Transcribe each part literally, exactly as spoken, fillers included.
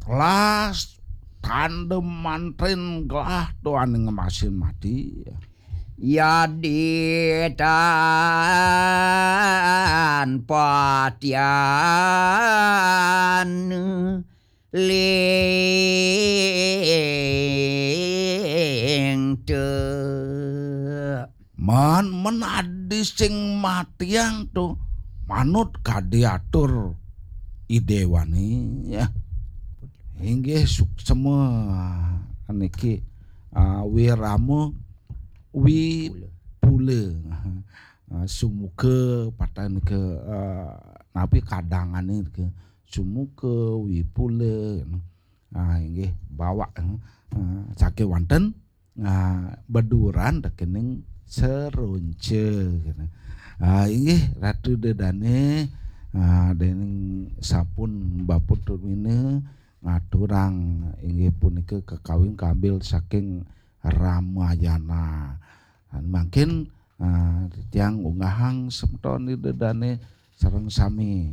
Las tandem mantrin gelah to ane ngemasin mati. Yadi tan patian ling te. Man men adi sing matiang to manut kadi atur idewane ya. Inggih suksema niki, ah, wirama wipula. Ah, sumuka patah nika, ah, napi kadangane nika sumuka wipula. Ah, inggih bawak, ah, saking wanten, ah, beduran tekening seronca kene. Ah, inggih Ratu Dedane, ah, dening sampun baput tumina ngaturang inggih punika kakawin kambil saking Ramayana. Mangkin, ah, tiang unggahang semeton Ida Dane sareng sami.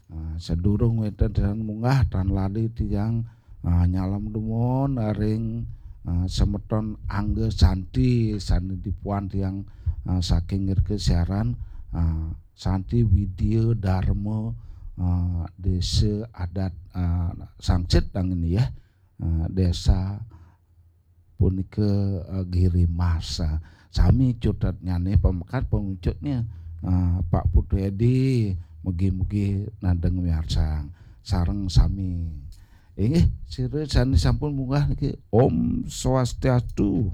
Ah, sadurung wenten tiang munggah tan lali tiang, ah, nyalem dumun ring, ah, semeton Angga Santi sane dipuan tiang, ah, saking irika siaran, ah, Santi Widya Dharma, ah, Desa Adat, ah, Sangsit angin ya. Ah, desa punika, eh, Giri Mas. Ah, sami cutetnyane pamekat pangucutnya, ah, Pak Putu Edi, mugi-mugi nadeng miarsang sareng sami. Inggih, sira sane sampun munggah niki. Om Swastiastu.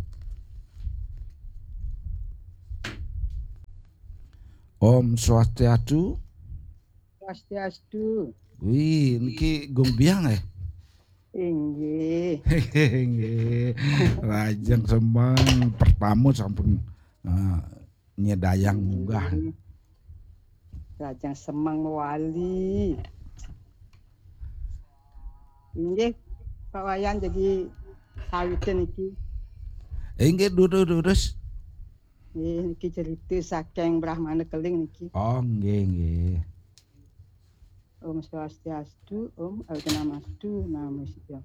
Om Swastiastu. Swastiastu. Wih, niki Gung Biang eh? Inggih. Inggih. Lajeng semeng pertama sampun, eh, nyedayang munggah. Lajeng semeng mewali. Inggih, Pak Wayan jadi sawitin niki. Inggih, durus, durus. Nggih, niki cerita saking Brahmana Keling niki. Oh, nggih, nggih. Om Swastiastu, Om Awighnamastu, Namo Sidham.